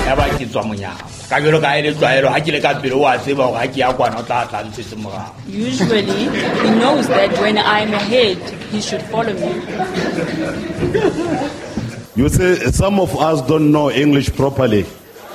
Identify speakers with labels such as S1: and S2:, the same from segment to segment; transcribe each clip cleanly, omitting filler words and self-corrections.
S1: Ya ba ke tswa monyako. Ka jwalo ka ha e le tlwaelo ha ke le ka pele o a tseba hore ha ke ya kwana o tla tla ntshetse morao.
S2: Usually, he knows that when I'm ahead, he should follow me.
S3: You see, some of us don't know English properly.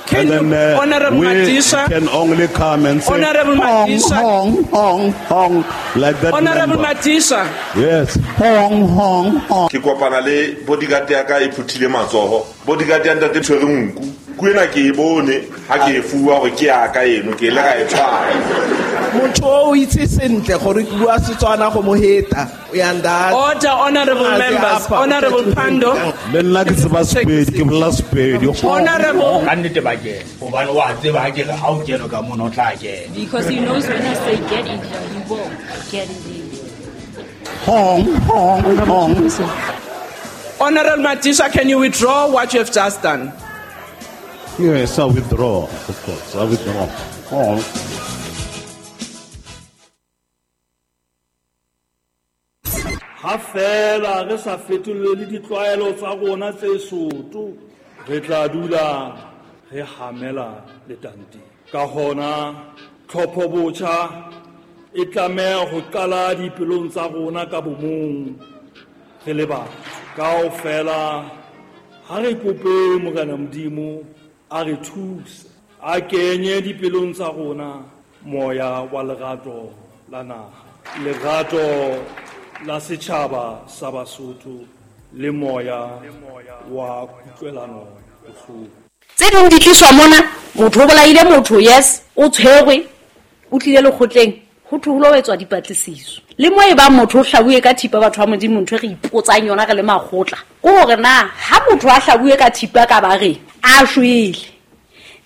S4: Can
S3: and then
S4: you, Honorable
S3: we
S4: Madisha,
S3: can only come and say,
S4: Honorable
S3: hong,
S4: Madisha.
S3: hong, hong, hong, like that.
S4: Honorable
S3: member.
S4: Madisha,
S3: Yes, hong, hong, hong.
S5: Ke kopana le bodyguard ya ka e phuthile matsoho. Bodyguard ya ntate tshwere nku. Nku ena ke e bone ha ke e fuwa hore ke ya ka eno, ke ile ka e tshwara.
S6: Motho o itse sentle gore ke bua Setswana go mo heta. Uyanda.
S4: Order, honorable
S6: Ah,
S4: members.
S6: apa,
S4: Honorable Pandor.
S3: Le nna ke tseba Sepedi, ke bolela Sepedi. Hong,
S4: Honorable,
S1: Ka nnete ba kena. Hobane o a tseba ha ke re ha o kene ka mono o tla kena.
S2: Because he knows when I say get in here, he will get in there.
S3: hong, hong, hong.
S4: Honorable Madisha, can you withdraw what you have just done?
S3: Yes, I withdraw, of course, I withdraw. Hong.
S7: Ha fela re sa fetolele ditlwaelo tsa rona tse soto, re tla dula re hamela letanteng. Ka hona, tlhopho botjha e tlameha ho qala dipelong tsa rona ka bomong re le batho. Kaofela ha re kope Morena Modimo a re thuse, a kenye dipelong tsa rona moya wa lerato la naha, lerato la setjhaba sa Basotho le moya wa kutlwelano bohloko.
S8: Tse ding di tliswa mona, motho o bolaile motho, yes, o tshwerwe, o tlile lekgotleng, ho thwe ho lo etswa dipatlisiso. Le mo e bang motho o hlabuwe ka thipa, batho ba Modimo, ntho e re ipotsang yona re le makgotla, ke hore na ha motho a hlabuwe ka thipa ka bareng, a shwele,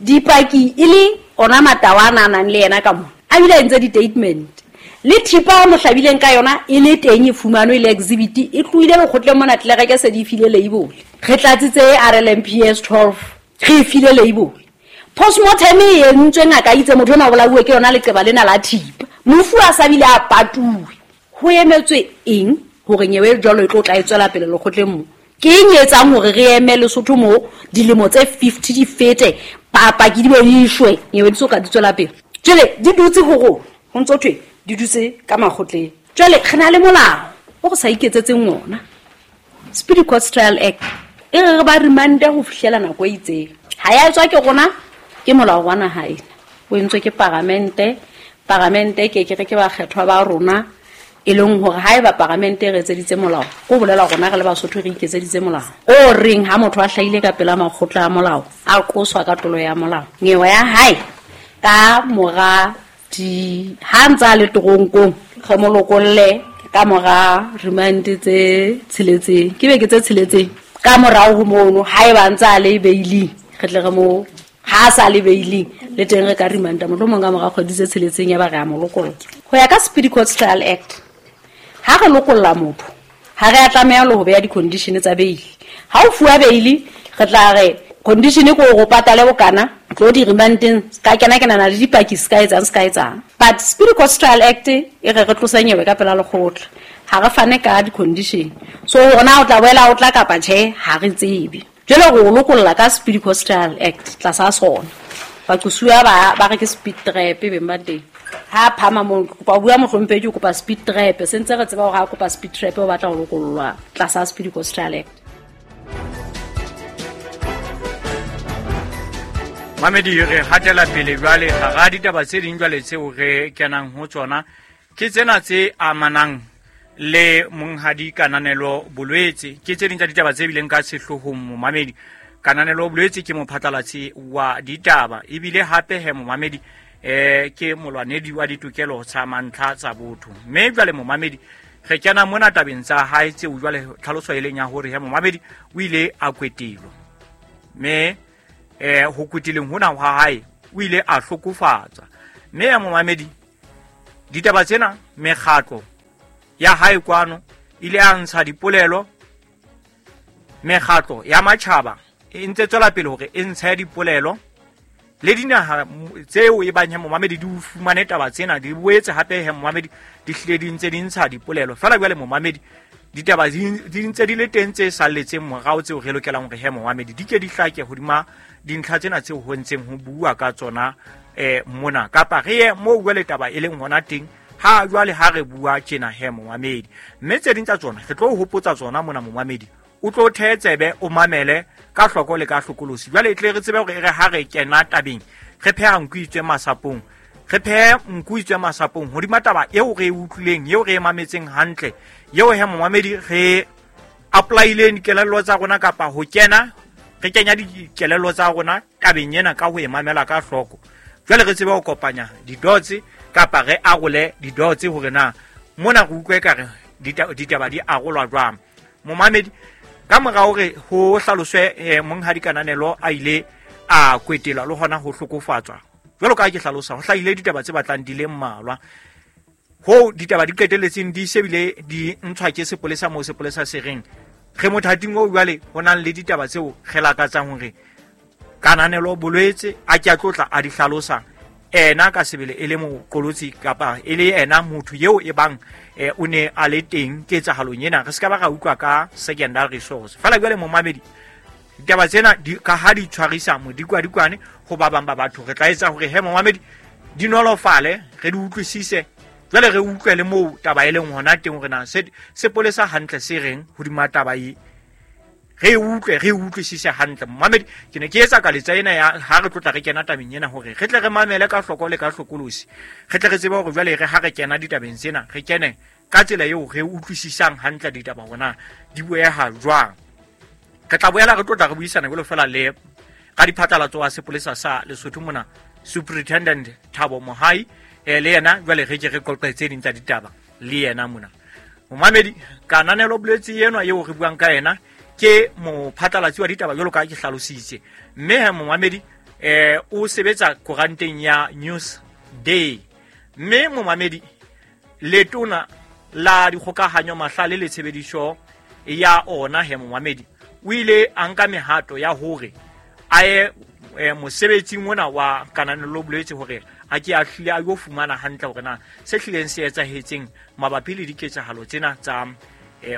S8: dipaki e le ona matawa a na nang le yena ka mona, a bile a entse di-statement. Le thipa a mo hlabileng ka yona e le teng e fumanwe e le exhibit, e tlohile lekgotleng mona tlelereke se di file label. Re tlatsitse RLMPS 12, re e file label. Postmortem e entswe ngaka e itse motho enwa o bolauwe ke yona leqeba lena la thipa. Mofu a sa bile a patuwe. Ho emetswe eng hore nyewe e jwalo e tlo tla e tswela pele lekgotleng mo? Ke eng e etsang hore re eme Lesotho mo dilemo tse 50 di fete, paki di be di shwe, nyewe di so ka di tswela pele? Jwale di dutse ho rona, ho ntso thwe di dutse ka makgotleng. Jwale re na le molao o re sa iketsetseng ona, Speedy Court Trial Act, e re re ba remande ho fihlela nako e itseng. Ha ya etswa ke rona, ke molao wa naha ena, o entswe ke paramente. Paramente ke ke re ke bakgethwa ba rona, e leng hore haeba paramente e re etseditse molao, ko bolela rona re le Basotho re iketseditse molao o reng ha motho a hlahile ka pela makgotla a molao, a qoswa ka tlolo ya molao, nyewe ya hae ka mora di ha ntse a le toronkong, re mo lokolle ka mora remand tse tsheletseng, ke beke tse tsheletseng ka morao ho mono, haeba ntse a le bailing, re tle re mo, ha a sa le bailing le teng re ka remanda mohlomong ka mora kgwedi tse tsheletseng ya ba re a mo lokolla. Ho ya ka Speedy Court Trial Act, ha re lokolla motho, ha re a tlameha le ho beha di-condition tsa bail. Ha o fuwa bail, re tla re condition ke hore o patale bokana, tlo di remandeng, ka kena kenana le dipaki se ka etsang, se ka etsang. But Speedy Court Trial Act e re re tlose nyewe ka pela lekgotla, ha re fane ka di-condition. So hore na o tla boela o tla kapa tjhe, ha re tsebe. Jwale re o lokolla ka Speedy Court Trial Act tlasa sona. Baqosuwa ba re ke speed trap beng ba teng. Ha phama moo, ke kopa ho bua mohlomphehi, ke kopa speed trap. Se ntse re tseba hore ha kopa speed trap o batla ho lokollwa tlasa Speedy Court Trial Act.
S9: Mamedi, re hatela pele jwale hara ditaba tse ding jwale tseo re kenang ho tsona, ke tsena tse amanang le monghadi Kananelo Bolwetse. Ke tse ding tsa ditaba tse bileng ka sehloohong momamedi. Kananelo Bolwetse ke mophatlalatsi wa ditaba, ebile hape he momamedi, ke molwanedi wa ditokelo tsa mantlha tsa botho. Mme jwale momamedi, re kena mona tabeng tsa hae tseo jwale tlhaloso e leng ya hore he momamedi o ile a kwetelwa. Mme ho kweteleng hona ha hae o ile a hlokofatswa. Mme ya momamedi, ditaba tsena mekgatlo ya hae kwano ile a ntsha dipolelo, mekgatlo ya matjhaba e ntse tswela pele hore e ntshe dipolelo le dinaha tseo e bang he momamedi di fumane taba tsena, di boetse hape he momamedi di hlile di ntse di ntsha dipolelo. Feela jwale momamedi, ditaba di ntse di le teng tse salletseng morao tseo re lokelang hore he momamedi di ke di hlake hodima dintlha tsena tseo ho ntseng ho bua ka tsona mona kapa re ye moo jwale taba e leng hona teng ha jwale ha re bua tjena he momamedi. Mme tse ding tsa tsona re tlo hopotsa tsona mona momamedi, o tlo thetsebe o mamele ka hloko le ka hlokolosi. Jwale e tle re tsebe hore re ha re kena tabeng re pheha nku itswe masapong, re phehe nku itswe masapong hodima taba eo re e utlwileng, eo re e mametseng hantle, eo he momamedi re apply-ileng dikelello tsa rona kapa ho kena re kenya dikelello tsa rona tabeng ena ka ho e mamela ka hloko. Jwale re tsebe ho kopanya di-dots kapa re arole di-dots hore na mona re utlwe ka re ditaba di arolwa jwang. Momamedi, ka mora hore ho hlaloswe monghadi Kananelo a ile a kwetelwa le hona ho hlokofatswa, jwalo ka ha ke hlalosa, ho hlahile ditaba tse batlang di le mmalwa ho ditaba di qetelletseng di sebile di ntshwa ke sepolesa moo sepolesa se reng re mothating oo jwale ho nang le ditaba tseo re lakatsang hore Kananelo Bolwetse a ke a tlotla a di hlalosa ena ka sebele e le moqolotsi kapa e le ena motho eo e bang o ne a le teng ketsahalong ena. Re se ka ba ra utlwa ka secondary source fela. Jwale momamedi, ditaba tsena ka ha di tshwarisa modikwadikwane ho ba bang ba batho, re tla etsa hore he momamedi di nolofale, re di utlwisise, jwale re utlwe le moo taba e leng hona teng hore na sepolesa hantle se reng hodima taba e, re utlwe re utlwisise hantle. Momamedi, ke ne ke etsa kaletsa ena ya ha re tlotla re kena tabeng ena hore re tle re mamele ka hloko le ka hlokolosi, re tle re tsebe hore jwale re ha re kena ditabeng tsena re kene ka tsela eo re utlwisisang hantle ditaba hona di bueha jwang. Re tla boela re tlotla re buisana jwalo fela le ka diphatlalatso wa sepolesa sa Lesotho mona, Superintendent Thabo Mohai, le yena jwale re ke re qoqe tse ding tsa ditaba le yena mona. Momamedi, Kananelo Bolwetse enwa eo re buang ka yena ke mophatlalatsi wa ditaba jwalo ka ke hlalositse, mme he momamedi o sebetsa koranteng ya News Day. Mme momamedi, letona la dikgokahanyo mahlale le tshebediso ya ona he momamedi o ile a nka mehato ya hore a ye mosebetsing ona wa Kananelo Bolwetse hore a ke a hlile a yo fumana hantle hore na se hlileng se etsahetseng mabapi le diketsahalo tsena tsa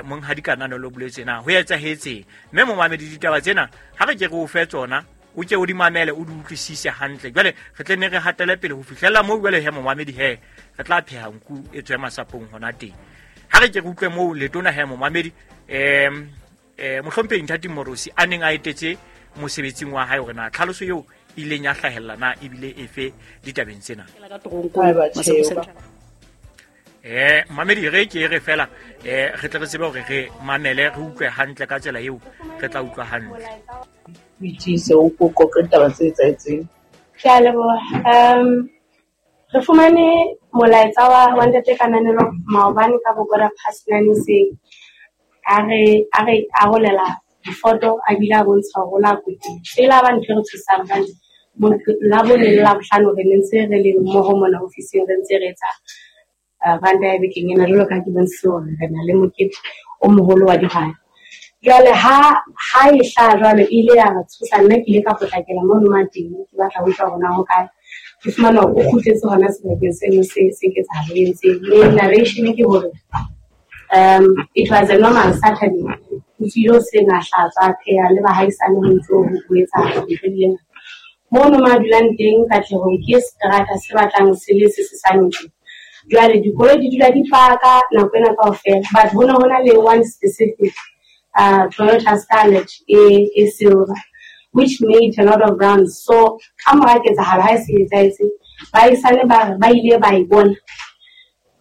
S9: monghadi Kananelo Bolwetse na ho etsahetseng. Mme momamedi, ditaba tsena ha re ke re o fe tsona, o ke o di mamele, o di utlwisise hantle. Jwale re tle ne re hatele pele ho fihlela moo jwale he momamedi he re tla pheha nku e tswe masapong hona teng. Ha re ke re utlwe moo letona he momamedi mohlomphehi Nthati Morosi a neng a etetse mosebetsing wa hae hore na tlhaloso eo ileng ya hlahella na ebile efe ditabeng tsena. Mamedi, re ke re fela re tle re tsebe hore re mamele re utlwe hantle ka tsela eo re tla utlwa hantle.
S10: O itise o qoqe ditaba tse etsahetseng.
S11: Ke a leboha. Re fumane molaetsa wa ntate Kananelo maobane ka bo 9:15 hoseng. A re arolela difoto a bile a bontsha hore o la kwetile. Pele ba ntho e re tshosang hobane la bone le Labohlano re ne ntse re le mmoho mona ofising re ntse re etsa ranta ya bekeng ena jwalo ka ha ke bontshitse hore re na le mokete o moholo wa dihwai. Jwale ha e hlaha jwalo e ile ya re tshosa, nna ke ile ka potlakela mono ma teng ke batla ho utlwa hore na ho kae. Ke fumana hore o kgutletse hona sebakeng seno se ketsahalo e entseng. Mme narration ke hore it was a normal Saturday. O tswile hoseng a hlatswa, a pheha le bahaisane ho ntso ho etsahala ntho di le ngata. Mono ma dulang teng Katlehong ke seterata se batlang se le se sesane tje. Jwale dikoloi di dula di paka nako ena kaofela, but ho ne ho na le one specific Toyota Starlet e silver which made a lot of rounds. So ka mora ketsahalo ha e se etsahetse, baahisane ba re ba ile ba e bona,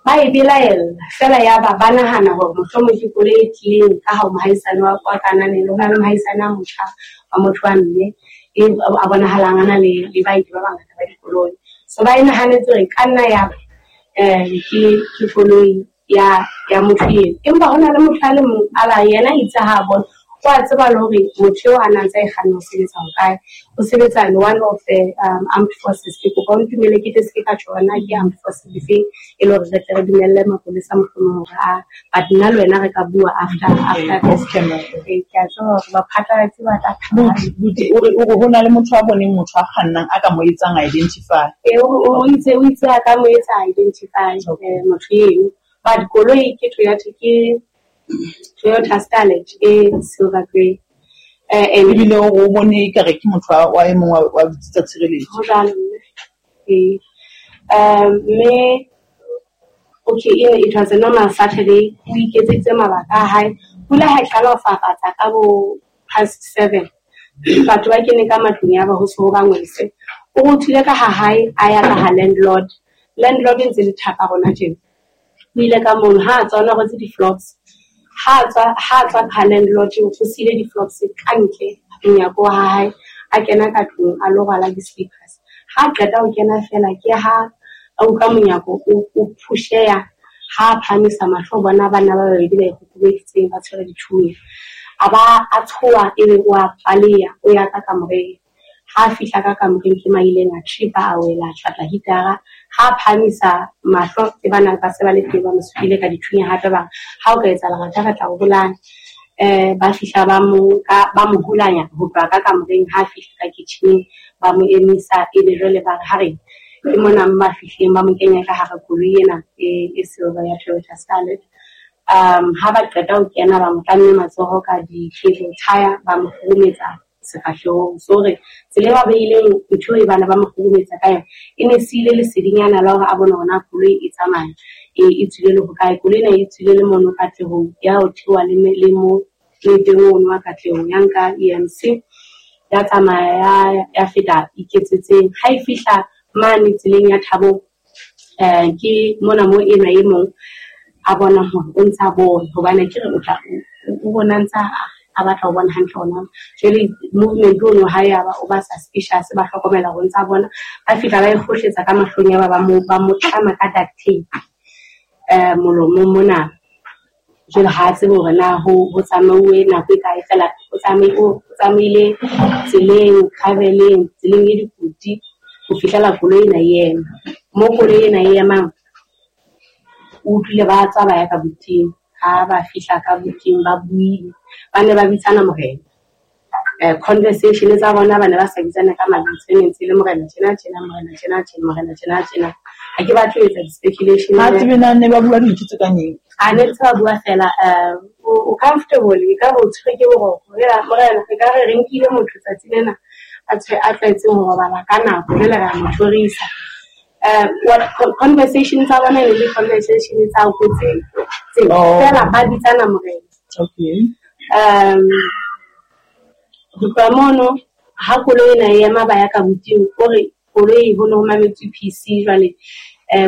S11: ba e belaella fela, ya ba ba nahana hore mohlomong ke koloi e tlileng ka ha mohaisane wa Kananelo, ho na le mohaisane a motjha wa motho wa mme e a bonahalang a na le baeti ba bangata ba dikoloi. So ba e nahanetse hore e ka nna ya ba ke koloi ya motho eno. Empa ho na le motho a le mong a ba yena itse ha a bona, o a tseba le hore motho eo a na ntse a e kganna o sebetsa hokae. O sebetsa le one of the armed forces. Ke kopa o ntumelle ke tle se ke ka tjho hore na ke armed forces difeng, e le hore re tle re dumelle mapolesa mohlomong hore a, but nna le wena re ka bua after
S10: Off camera.
S11: Ke a tseba hore baphatlalatsi ba tla
S10: Buti, o re ho na le motho a boneng motho a kgannang a ka mo etsang identify.
S11: O itse a ka mo etsa identify motho eno. But koloi ke Toyota, ke Toyota Starlet e silver grey.
S10: And ebile o bone ekare ke motho wa e mong wa tsa tshireletso.
S11: Ho jwalo mme. Ee. Mme okay, it was a normal Saturday. O iketseditse mabaka a hae. Pula ha e qala ho fafatsa ka bo 7:30. Batho ba kene ka matlung ya ba ho se ho bangwese. O rothile ka ha hae a ya ka ha landlord. Landlord e ntse le thaka rona tjena. O ile ka mono ha a tswa o na rwetse di-flops. Ha tswa ka landlord o siile di-flops ka ntle monyako wa hae, a kena ka tlung a lo rwala di-slippers. Ha qeta ho kena fela ke ha a utlwa monyako o phusheya, ha a phahamisa mahlo bona bana ba babedi ba ikokobeditseng ba tshwere dithunya. A ba a tshoha ebe o a paleya o ya ka kamoreng. Ha fihla ka kamoreng ke maileng a tripa a wela tjhatla hitara. Ha phahamisa mahlo ke bana ba se ba le teng ba mo supile ka dithunya hape ba ha o ka etsa lerata re tla o bolaya. Ba fihla ba mo hulanya ho tloha ka kamoreng, ha fihla ka kitchen ba mo emisa ebe jwale ba re ha re ke mona ba fihleng ba mo kenya ka hara koloi ena e silver ya Toyota Starlet. Ha ba qeta ho kena ba mo tlamme matsoho ka di-cable tire ba mo kgurumetsa sefahlehong. So re tsela e ba beileng ntho e bana ba mo kgurumetsa ka yona e ne siile lesedinyana la hore a bone hore na koloi e tsamaya e tswile le hokae. Koloi ena e tswile le mono Katlehong ya ho theoha le mo teng ono wa Katlehong ya nka EMC ya tsamaya ya feta Iketsetseng. Ha e fihla mane tseleng ya Thabong ke mona mo enwa e mong a bona hore o ntsa bone hobane ke re o tla o bona ntsa a batla ho bona hantle hona. Jwale movement ono ha ya ba o ba suspicious ba hlokomela hore ntsa bona. Ba fihla ba e kgohletsa ka mahlong ya ba mo tlama ka duct tape molomong mona. Jwale ha tsebe hore na ho tsamauwe nako e kae fela o tsamaile tseleng graveleng tseleng e dikoti ho fihlela koloi ena e ema. Mo koloi ena e emang o utlwile ba tswa ba ya ka buting. Ha ba fihla ka buting ba buile, ba ne ba bitsana morena. Conversation tsa bona ba ne ba sa bitsana ka mabitso, e ne ntse le morena tjena tjena, morena tjena tjena, morena tjena tjena. Ha ke batle ho etsa di-speculation.
S10: Ha tsebe na ne ba bua dintho tse kang eng?
S11: A ne ntse ba bua fela o comfortable e ka re o tshwere ke boroko. Morena e ka re re nkile motho tsatsi lena a tlwaetseng ho robala ka nako jwale re a mo tjhorisa. What conversation tsa bona ne le conversation tsa ho tse fela ba bitsana morena.
S10: Okay.
S11: Ho tloha mono ha koloi ena e ema ba ya ka buting, o re koloi ho ne ho mametswe PC jwale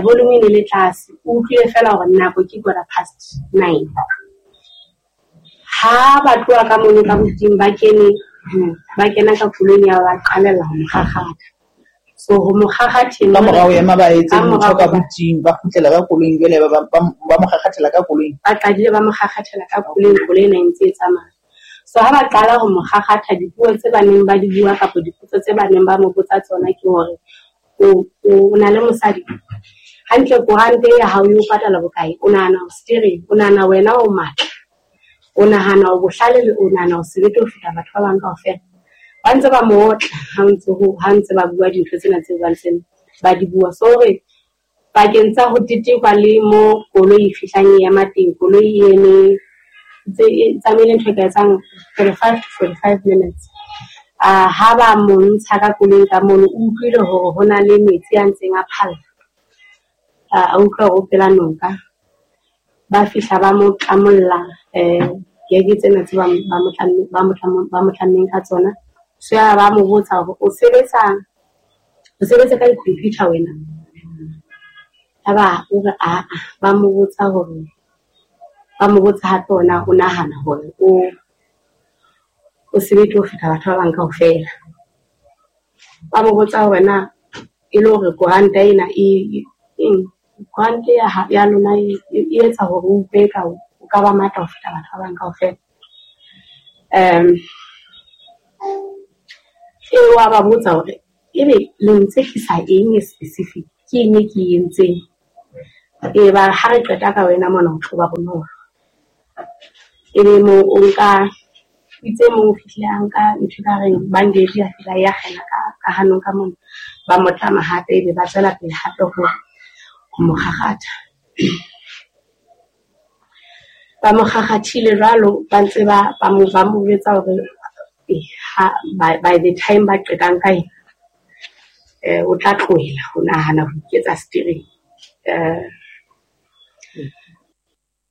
S11: volume e ne le tlase. O utlwile fela hore nako ke 9:15. Ha ba tloha ka mono ka buting ba kene ba kena ka koloing ya ba qalella ho mo kgakgatha. So ho mo kgakgatheng
S10: ka morao ema ba etse motho ka buting ba kgutlela ka koloing jwale ba mo kgakgathela ka koloing.
S11: Ba qadile ba mo kgakgathela ka koloing, koloi ena e ntse e tsamaya. So ha ba qala ho mo kgakgatha dipuo tse ba neng ba di bua kapa dipotso tse ba neng ba mo botsa tsona ke hore o na le mosadi hantle, korante ya hao e o patala bokae, o nahana o steering, o nahana wena o matla, o nahana o bohlale, o nahana o sebete ho feta batho ba bang kaofela. Ba ntse ba mo otla ha ntse ba bua dintho tsena tseo ba ntseng ba di bua. So hore pakeng tsa ho tetekwa le mo koloi e fihlang e ema teng, koloi e eme tsamaile ntho e ka etsang 35 to 45 minutes. Ha ba mo ntsha ka koloing ka mono, o utlwile hore ho na le metsi a ntseng a phalla. A utlwa hore o pela noka. Ba fihla ba mo tlamolla geke tsena tse ba mo tlammeng ka tsona. So ya ba mo botsa hore o sebetsa ka di-computer wena. Yaba o re aa, ba mo botsa hore ba mo botsa hape ona o nahana hore o sebete ho feta batho ba bang kaofela. Ba mo botsa hore na e le hore koranta ena e koranta ya lona e etsa hore o utlwe eka o ka ba matla ho feta batho ba bang kaofela. E wa ba botsa hore ebe le ntsekisa eng e specific, ke eng e ke e entseng? E ba ha re qeta ka wena mona o tlo ba bonolo. Ebe mo o nka itse mong o fihlile a nka ntho ka reng bandage ya fihla ya kgena ka hanong ka mona, ba mo tlama hape ebe ba tswela pele hape ho mo kgakgatha. Ba mo kgakgathile jwalo ba ntse ba mo jwetsa hore By the time ba qetang ka ena, o tla tlohela ho nahana ho iketsa steering.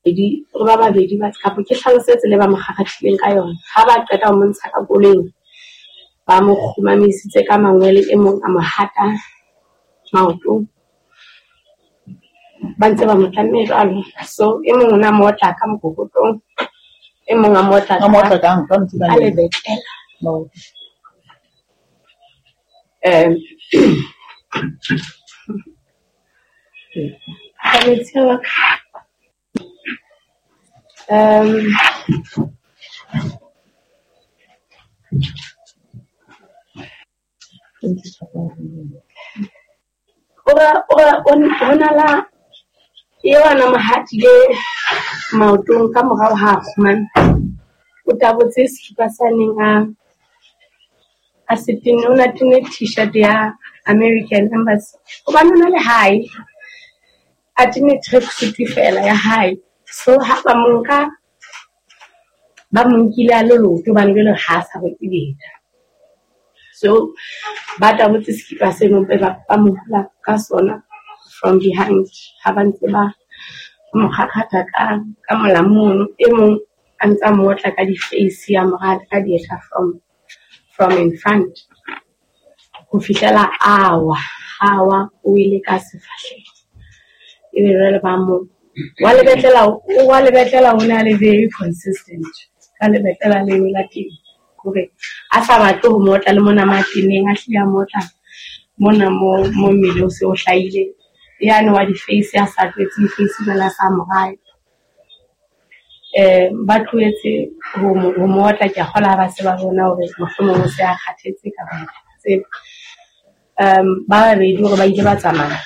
S11: Re ba babedi ba kapa ke hlalosetse le ba mo kgakgathileng ka yona. Ha ba qeta ho mo ntsha ka koloing, ba mo kgumamisitse ka mangwele, e mong a mo hata maoto, ba ntse ba mo tlamme jwalo. So e mong o na mo otla ka mokokotlong, e mong a mo otla ka lebetlela. Ora la eo a na mo hatile maotong ka morao ha a kgumame. O tabotse sekipa sa neng a se tenne, o na tenne t-shirt ya American Embassy. Hobane o na le hae, a tenne tracksuit fela ya hae. So ha ba mo nka, ba mo nkile a le leoto hobane jwale ha a sa rwetse dieta. So ba tabotse sekipa seno ba mo hula ka sona from behind. Ha ba ntse ba mo kgakgatha ka molamu mono, e mong a ntse a mo otla ka di-face, a mo rata ka dieta from in front ho fihlela a wa, o ile ka sefahleho. Ebe jwale ba mo wa lebetlela o ne a le very consistent ka lebetlela leo la teng, hore a sa batle ho mo otla le mona mateneng, a hlile a mo otla mona mo mmele o se o hlahile. Yane wa di-face a sa tlwaetse di-face jwale a sa mo rate. Ba tlohetse ho mo otla, ke a kgolwa ha ba se ba bona hore mohlomong o se a kgathetse kapa tsebe. Ba babedi hore ba ile ba tsamaya.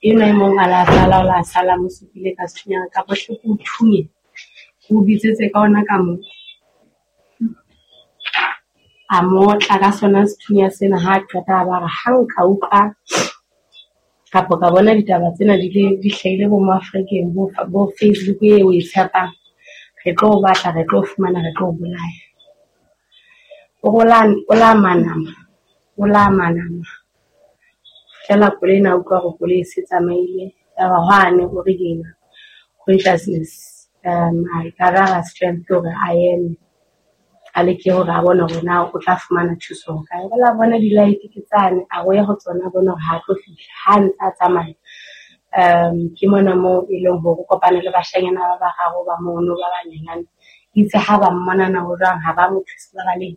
S11: Enwa e mong a la sala, o la sala mo supile ka sethunya kapa hle ke o thunye, ke o bitsetse ka ona ka moo. A mo otla ka sona sethunya sena, ha a qeta a ba re ha nka utlwa kapa ka bona ditaba tsena di hlahile bo mo Afrikeng, bo Facebook eo o e tshepang, re tlo o batla, re tlo o fumana, re tlo o bolaya. O la manama. Fihlela koloi ena a utlwa hore koloi e se tsamaile. Yaba hwane o regain consciousness, a gather strength hore a eme, a leke hore a bone hore na o tla fumana thuso ho kae. O la bona di-light ke tsane, a o ya ho tsona, a bone hore ha tlo fihla. Ha ntse a tsamaya, ke mona moo e leng hore o kopane le bashanyana ba bararo ba mono ba banyenyane. Itse ha ba mmona na ho jwang, ha ba mo thuse, ba baleha.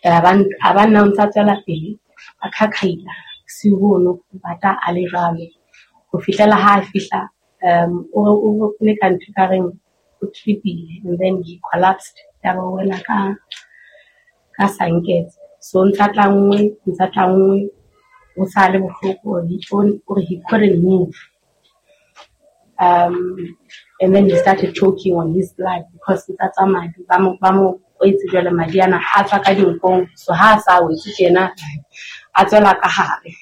S11: A ba nna o ntsa tswela pele, a khakhaila bosiu bono, bata a le jwalo ho fihlela ha a fihla. O le ka ntho ekareng o trip-ile and then he collapsed. Yaba o wela ka sanketse. So ntsa tlanngwe, o sa le bohloko, hore he couldn't move. And then he started choking on his blood because ntsa tswa madi, ba mo kwetse jwale madi ana a tswa ka dinkong. So ha a sa wetse tjena, a tswela ka hare.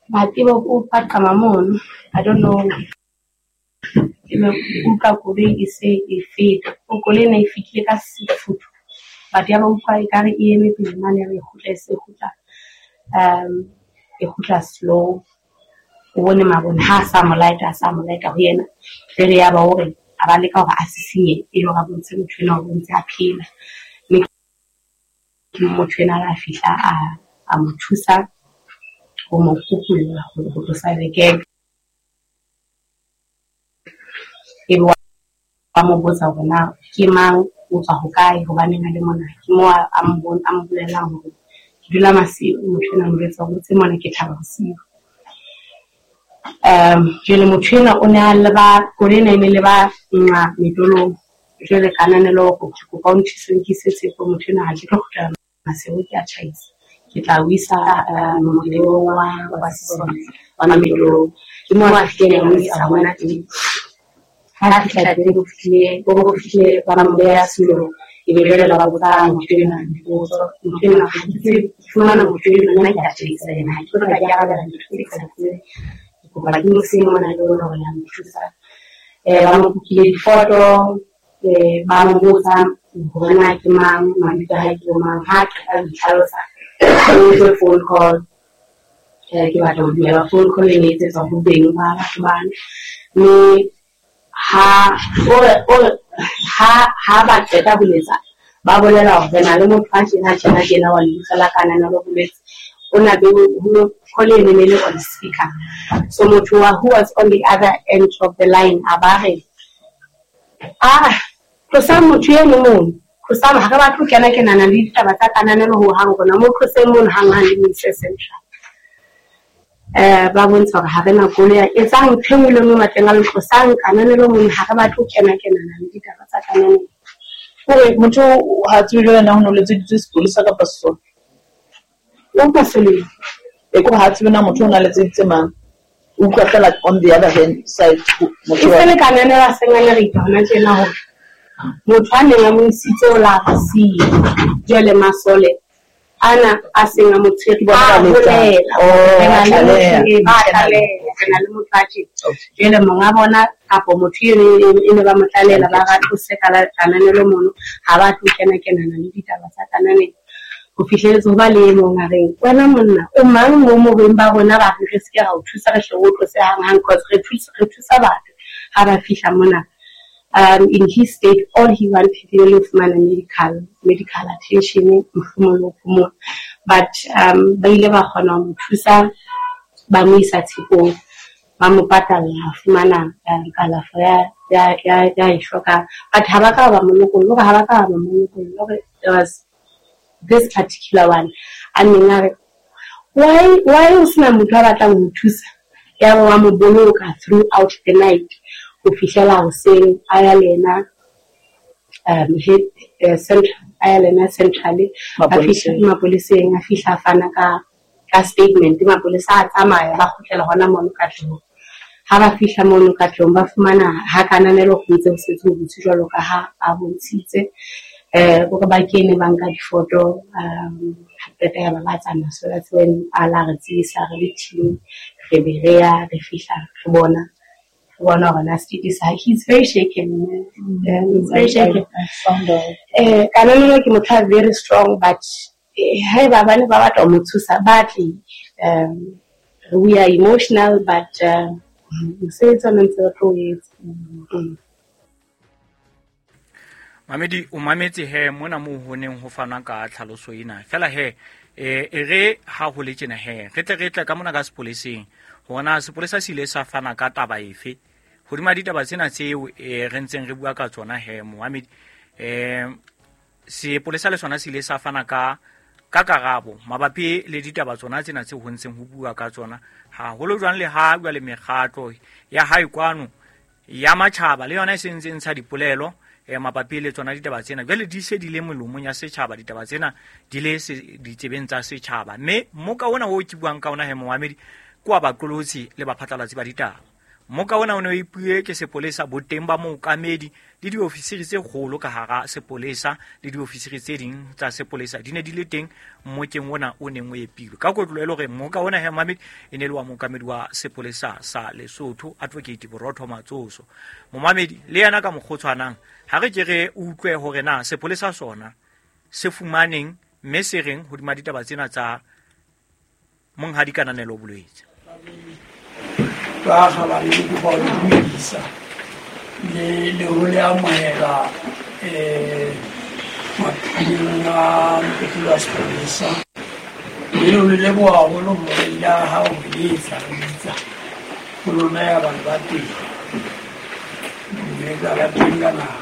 S11: Ba tseba o paqama mono, I don't know. Ebe utlwa koloi e se e feta. Koloi ena e fihlile ka sefutho, but ya ba utlwa ekare e eme pele mane, ya ba e kgutla, e se kgutla, e kgutla slow. O bone mabone ha a sa mo light-a, ho yena. Jwale ya ba hore a ba leka hore a sisinye e le hore a bontshe motho enwa hore o ntse a phela. Mme ke motho enwa a fihla a mo thusa ho mo kukulla ho tlosa lekeke. Ebe wa mo botsa hore na ke mang, o tswa hokae, hobaneng a le mona. Ke moo a mo bolellang hore ke dula Maseru. Motho enwa a mo jwetsa hore o tse mona ke Thaba Bosiu. Jwale motho enwa o ne a leba, koloi ena e ne leba nqa Metolong. Jwale Kananelo hore ke kopa o nthuse o nkise Tshepo. Motho enwa ha ke tlo kgutlela Maseru, ke a tjhaisa. Ke tla o isa molemong wa sesole wa Metolong. Ke moo a fihlileng a mo isa hona teng. Ha a fihla teng, o fihlile ba mo beha setulong. Ebe jwale ba botsa motho enwa dipotso. Motho enwa ha ke tsebe, ke fumana motho enwa nna ke a tjhaisa yena. Ha ke tlo tla ke arabela dintho tse ke sa di tsebeng. Ke kopa ke mo se mona le lona hore le a nthusa. Ba mo kukile difoto, ba mo botsa hore na ke mang, mabitso a hae ke bo mang. Ha qeta ho itlhalosa, o utlwe phone call. Ke batla ho dumela phone call e ne etsetswa ho beng ba batho bana. Mme ha ha ba qeta ho letsa, ba bolela hore re na le motho a tjena tjena tjena wa lebitso la Kananelo Bolwetse. O na be ho call e ne le on speaker. So motho wa who was on the other end of the line a ba re, tlosa motho eno mono, tlosa, ha re batle ho kena kenana le ditaba tsa Kananelo ho hang, rona mo tloseng mono hang-hang le mo ise central. Ba bontsha hore ha re na koloi ya etsang ntho e nngwe le nngwe matleng a le tlosang Kananelo mono, ha re batle ho kena kenana le ditaba tsa Kananelo.
S10: Hore motho ha tsebe jwale na ho no letseditswe sepolesa kapa sesole.
S11: O masoleng.
S10: E ko ha tsebe na motho o na letseditse mang. O utlwa fela on the other hand side motho.
S11: E se le Kananelo a seng a le re hona tjena hore motho a neng a mo isitse o la re siya. Jwale masole ana a seng a mo tshwere
S10: Bona
S11: a
S10: ba letsa.
S11: bolela.
S10: Oh,
S11: Re na le motho
S10: tlaleha.
S11: e ba tlaleha, re na le motho a tjena. Jwale monga bona kapo motho eno e ne ba mo tlalehela, ba ra tlose ka la Kananelo mono, ha ba tlo kena kenana le ditaba tsa Kananelo. Ho fihlelletse ho ba le e mong a reng, wena monna, o mang mo mobeng ba rona ba re re se ke ra o thusa, re hle o tlose hang-hang, cause re thusa batho ha ba fihla mona. In his state, all he wanted e le ho fumana medical attention, mohlomong le ho phomola. But ba ile ba kgona ho mo thusa, ba mo isa tshepong, ba mo patalla ho fumana kalafo ya e hlokang. But ha ba ka ba mo lokolla, hore ha ba ka ba mo lokolla, hore there was this particular one a neng a re, why o sena motho a batlang ho thusa? Ya ba wa mo boloka throughout the night ho fihlela hoseng, a ya le yena central, a ya le yena centrally, a fihla mapoleseng, a fihla a fana ka statement. Mapolesa a tsamaya, ba kgutlela hona mono ka tlung. Ha ba fihla mono ka tlung, ba fumana ha Kananelo ho ntse ho setse ho butse jwalo ka ha a bontshitse. Hore ba kene ba nka difoto, ha qeta ya ba ba tsamaya. So that's when a la re tsebisa re le team, re be re ya, re fihla, re bona hore na state sa hae. He's very shaken. He's very shaken. Kananelo ke motho a very strong, but haeba ba ne ba batla ho mo thusa, ba tle. We are emotional, but mosebetsi ona ntse re tlo o etsa.
S9: Mamedi o mametse he mona moo ho neng ho fanwa ka tlhaloso ena. Fela he e re ha ho le tjena he re tle re tle ka mona ka sepoleseng hore na sepolesa se ile sa fana ka taba efe hodima ditaba tsena tseo re ntseng re bua ka tsona he momamedi. Sepolesa le sona se ile sa fana ka karabo mabapi le ditaba tsona tsena tseo ho ntseng ho bua ka tsona, haholo jwang le ha jwale mekgatlo ya hae kwano ya matjhaba le yona e sentse ntsha dipolelo mabapi le tsona ditaba tsena. Jwale di se di le melomong ya setjhaba, ditaba tsena di le ditsebeng tsa setjhaba. Mme moka ona o ke buang ka ona he momamedi ke wa baqolotsi le baphatlalatsi ba ditaba. Moka ona o ne o ipuwe ke sepolesa boteng ba mookamedi le diofisiri tse kgolo ka hara sepolesa le diofisiri tse ding tsa sepolesa di ne di le teng mmokeng ona o neng o epilwe. Ka kotlo e le hore moka ona he momamedi e ne le wa mookamedi wa sepolesa sa Lesotho, Advocate Borotho Matsoso. Momamedi le yena ka mokgotshwanang ha re ke re utlwe hore na sepolesa sona se fumaneng mme se reng hodima ditaba tsena tsa monghadi Kananelo Bolwetse.
S12: Ba kgabane ke kopa ho le dumedisa le ho le amohela maphilong a mpetlele wa sepolesa. Mme le ho le leboha haholo hore le ha o letsa re bitsa ho lona ya batho ba teng. Mme ka ba teng ka nako.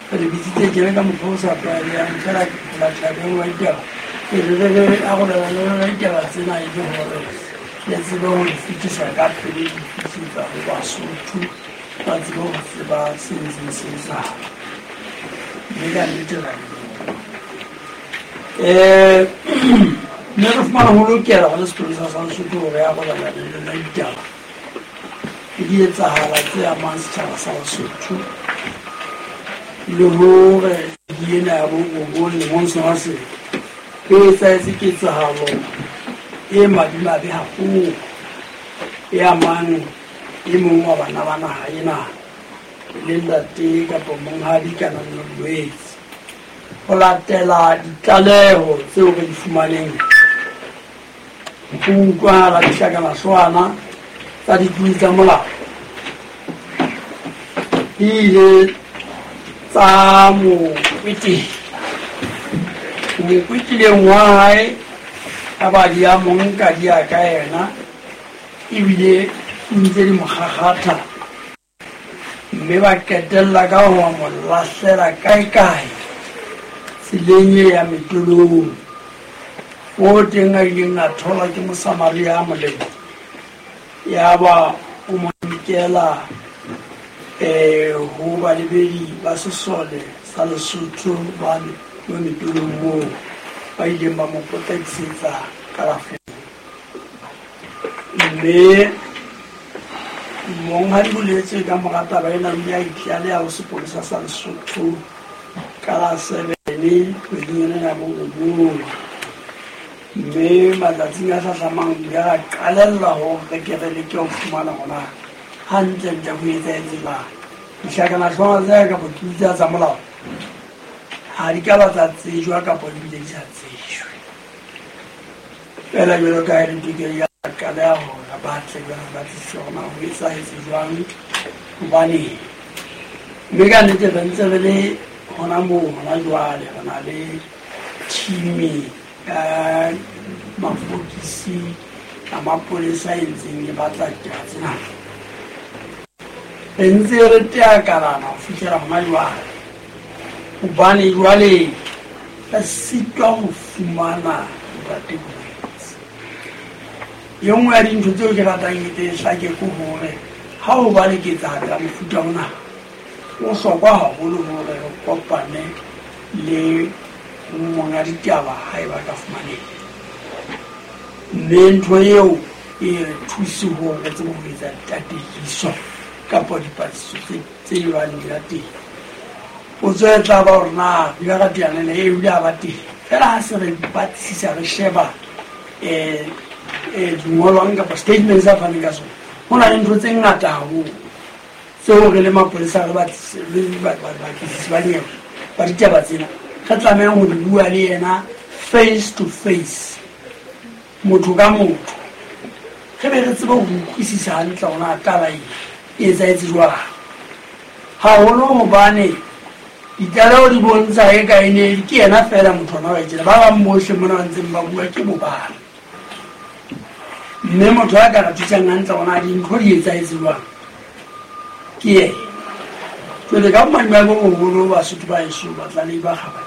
S12: Re le bitsitse tjena ka mokgwa o sa tlwaelehang, fela ke batla beng wa ditaba. E re arolelana le lona ditaba tsena e le hore le tsebe ho di fetisa ka pele, di fetisetsa ho Basotho, ba tsebe ho tseba se ntseng se etsahala. Mme ka nnete ra leboha. Mme re fumana ho lokela hore sepolesa sa Lesotho hore ya arolelana le lona ditaba le di etsahala tse amang setjhaba sa Basotho, le hore di ena ya bo robong lemong sena se e etsahetse ketsahalo e madimabe haholo e amang e mong wa bana ba naha ena. Le ntate kapa monghadi Kananelo Bolwetse. Ho latela ditlaleho tseo re di fumaneng, ho utlwahala dihlakanahlwana tsa ditlodi tsa molao di ile tsa mo kwetela. Mo kwetlileng wa hae a ba di a mo nka di ya ka yena, ebile ntse di mo kgakgatha, mme ba qetella ka ho mo lahlela kae-kae tseleng e ya metolong, o teng a ileng a thola ke Mosamaria a molemo, ya ba o mo nkela ho balebedi ba sesole sa Lesotho ba metolong moo, ba ileng ba mo potlakisetsa kalafong. Mme monghadi Bolwetse ka mora taba ena o ile a itlaleha ho sepolesa sa Lesotho ka la 7 kgweding ena ya borobong, mme matsatsing a hlahlamang o ile a qalella hore re ke re leke ho fumana hore hantlentle ho etsahetse jwang. Dihlakanahlwana tsena kapa ditlodi tsena tsa molao ha di ka ba tsa tsejwa kapa di bile di sa tsejwe. Feela jwalo ka ha e le tokelo ya qaleha hore ba tle jwale ba tlisise hore na ho etsahetse jwang, hobaneng. Mme ka nnete re ntse re le hona moo hona jwale, re na le team ya mafokisi a mapolesa e ntseng e batla ditaba tsena. Re ntse re teakalana ho fihlela hona jwale, hobane jwale re sitwa ho fumana ntate Bolwetse. E nngwe ya dintho tseo ke ratang e tle e hlake ke hore ha ho ba le ketsahalo ya mofuta ona, o hlokwa haholo hore re kopane le monga ditaba ha eba ka fumaneha. Mme ntho eo e re thuse hore re tsebe ho etsa ditataiso kapa dipatlisiso tse bang di la teng. Potso e tla ba hore na re ile ra teana le eo, ile a ba teng. Feela ha se re batlisisa, re sheba dingolwang kapa statements tsa faneng ka sona, ho na le ntho tse ngata haholo tseo re le mapolesa re batlisisi ba nyewe ba ditaba tsena re tlamehang ho di bua le yena face to face, motho ka motho, re be re tsebe ho utlwisisa hantle hore na taba e e etsahetse jwang. Haholo hobane ditlaleho di bontsha eka e ne ke yena feela motho ona wa tjena, ba bang bohle mona ba ntseng ba bua ke bobala. Mme motho ya ka re thusang hantle hore na dintho di etsahetse jwang ke yena. Jwale ka bomadimabe bo boholo Basotho ba heso, batlalehi ba kgabane,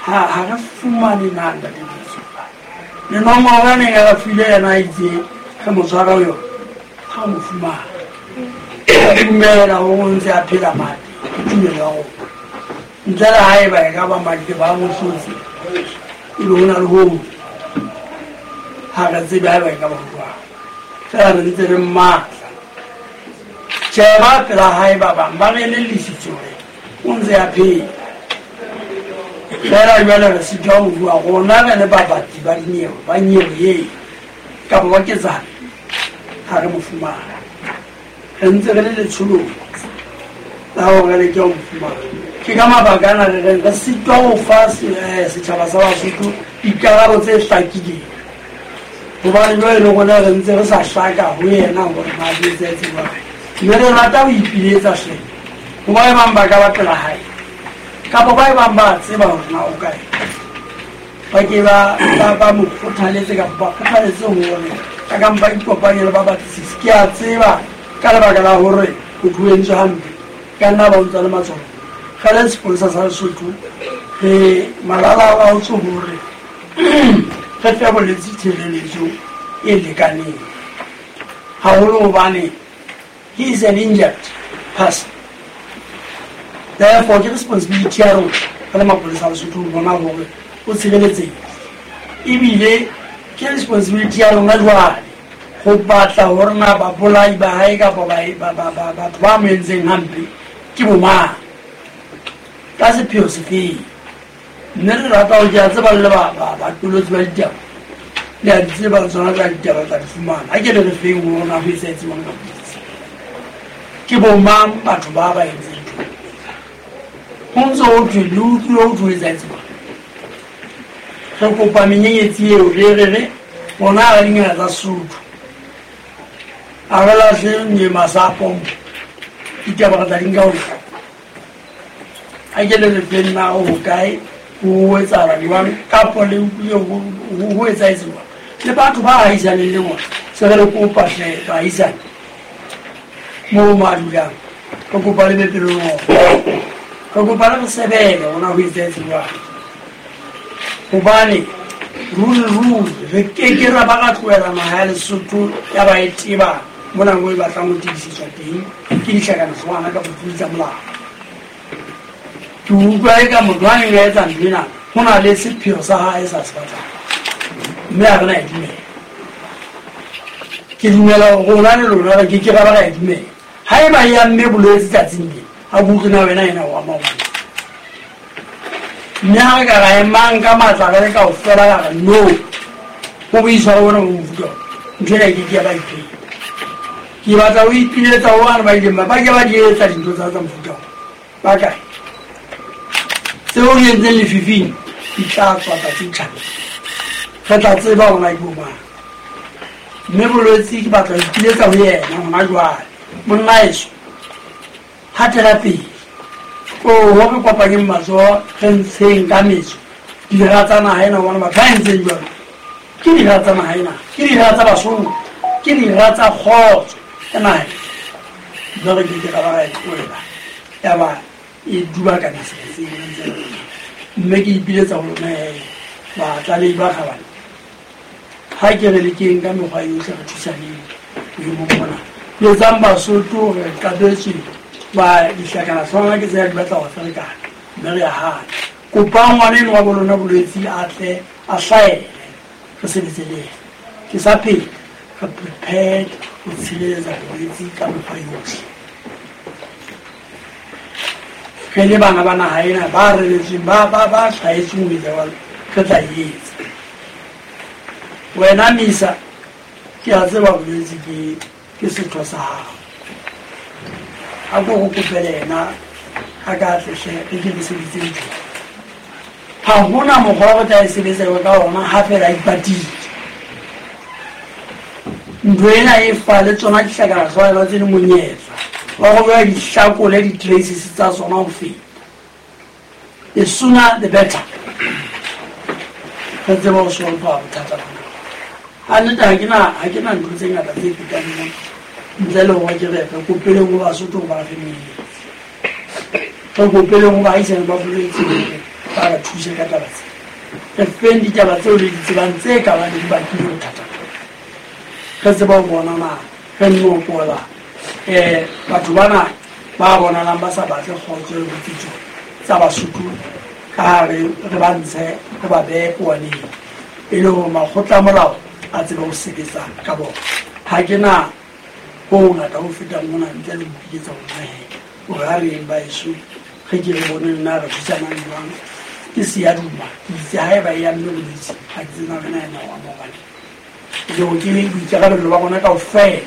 S12: ha re fumane na ntate Bolwetse. Le nomoro e neng e re file yena a itse re mo tshwara ho yona, ha mo fumane. Re dumela hore o ntse a phela mate, ke tumelo ya rona. Ntle le haeba e ka ba madi ba mo hlotse, ebe ho na le ho ha re tsebe haeba e ka ba jwang. Feela re ntse re mmatla. Tjhe, ba pela hae ba bang ba re elellisitse hore o ntse a phela. Feela jwale re sitwa ho bua rona re le babatli ba dinyewe, ba nyewe eo kapa ba ketsahalo, ha re mo fumane. Re ntse re le letsholong la hore re leke ho mo fumana. Ke ka mabaka ana re reng re sitwa ho fa setjhaba sa Basotho dikarabo tse hlakileng, hobane jwale le rona re ntse re sa hlaka ho yena hore na di etsahetse jwang. Mme re rata ho ipiletsa hle ho ba bang ba ka ba pela hae kapa ba bang ba tseba hore na o kae, ba ke ba mo kgothaletse kapa ba kgothaletse hore a ka mpa ikopanye le ba batlisisi. Ke a tseba ka lebaka la hore motho o entswe hampe, ka nna ba o ntsa le matsoho. Re le sepolesa sa Lesotho re malala a otse hore re fe bolwetse tshireletso e lekaneng, haholo hobane he is an injured person. Therefore, ke responsibility ya rona re le mapolesa a Lesotho ho bona hore o tshireletsehile, ebile ke responsibility ya rona jwale ho batla hore na babolai ba hae kapa batho ba mo entseng hampe ke bo mang, ka sepheo sefeng. Mme re rata ho ke a tseba le batolotsi ba ditaba, le a di tseba le tsona tsa ditaba tla di fumana. Ha ke le re feng hore na ho etsahetse jwang ka bolwetse. Ke bomang batho ba ba entseng ntho? Ho ntso ho thwe le utlwile ho thwe ho etsahetse jwang? Re kopa menyenyetsi eo re re re rona ha re dingaka tsa Sesotho. A re lahle nye masapo ditaba re tla di nka ho kae? A ke le re feng na ho kae ho etsahala jwang kapo le utlwile ho etsahetse jwang? Le batho ba ahisaneng le bona se re le kopa hle baahisane moo mo a dulang re kopa le be pelonolo re kopa le re sebele gona ho etsahetse jwang gobane ruri ruri re keke ra ba ra tlohela naga ya Lesotho ya ba e teba mo nako e batlang go tebisetswa teng ke ditlhakanatlhwana ka botlodi tsa molao. Ke utlwa e ka motho a neng a etsa ntho ena go na le sepheo sa gae sa se batlang mme a re na e dumela. Ke dumela gore rona le lona re ke ke ra ba ra e dumela. Ha e ba e amme bolwetse tsatsing le a ke utlwe na wena ena o ama gona. Mme ha re ka ra emang ka matla re le kaofela ra re no go boitshwaro bona bo mofuta o, ntho ena e ke ke ya ba ipheta. Ke batla ho ipiletsa ho bana ba ileng ba ba ke ba di etsa dintho tsa tsa mofuta o. Ba kae? Tseo di entseng lefifing di tla tswa tsatsi tjhabeng. Re tla tseba hore na ke bo mang. Mme bolwetse ke batla ho ipiletsa ho yena hona jwale. Monna eso, hatela pele. Oho re kopanyeng matsoho re ntsheng ka metso dira tsa naha ena hobane batho ba entseng jwalo ke dira tsa naha ena, ke dira tsa Basotho, ke dira tsa kgotso ya naha ena. Mme re ke ke ra ba ra e tlohela ya ba e dubakana seretseng re ntse re le. Mme ke ipiletsa ho lona he batlalehi ba kgabane, ha ke re lekeng ka mekgwa yohle re thusaneng boemong bona. Jwetsang Basotho re qabetswe ba dihlakanahlwana ke tsena di batla go ferekana mme re a hana. Kopang ngwana eno wa bo lona bolwetsi a tle a hlaele re sebetse le yena. Ke sa phela re prepared ho tshireletsa bolwetsi ka mekgwa yohle. Re le bana ba naha ena ba reretsweng ba ba ba hlahetsweng ho etsa jwalo re tla e etsa. Wena Misa ke a tseba bolwetsi ke ke setho sa hao. A ko go kopele yena a ka tlehle re ke re sebeditse ntho. Ha hona mokgwa wa re tla e sebetsa ka ona ha fela a ipatile. Ntho ena e fa le tsona dihlakanahlwana tse le monyetla wa go beha dihlakole di-traces tsa tsona ho feta. The sooner the better. Re tseba ho solve bothata bona. Ha nnete ha ke na ha ke na ntho tse ngata tse fetang mona. Ntle le hore ke re re kopeleng ho Basotho hore ba re fe menyetla. Re kopeleng ho baahisane ba bolwetse hore ba re thuse ka taba tsena. Re feng ditaba tseo le di tsebang tse ka bang di bakile bothata bona. Re tseba ho bona na re nopola batho bana ba bonalang ba sa batle kgotso le botsitso tsa Basotho ka ha re re ba ntshe re ba behe powaneng e le hore makgotla a molao a tsebe ho sebetsa ka bona. Ha ke na ho hongata ho fetang mona ntle le ho ipiletsa ho nna he hore ha re yeng baeso re ke re boneng na re thusanang jwang. Ke seyaduma ke itse haeba e amme bolwetse ha ke tsebe na wena ena o ama hobane le hore ke boikarabello ba rona kaofela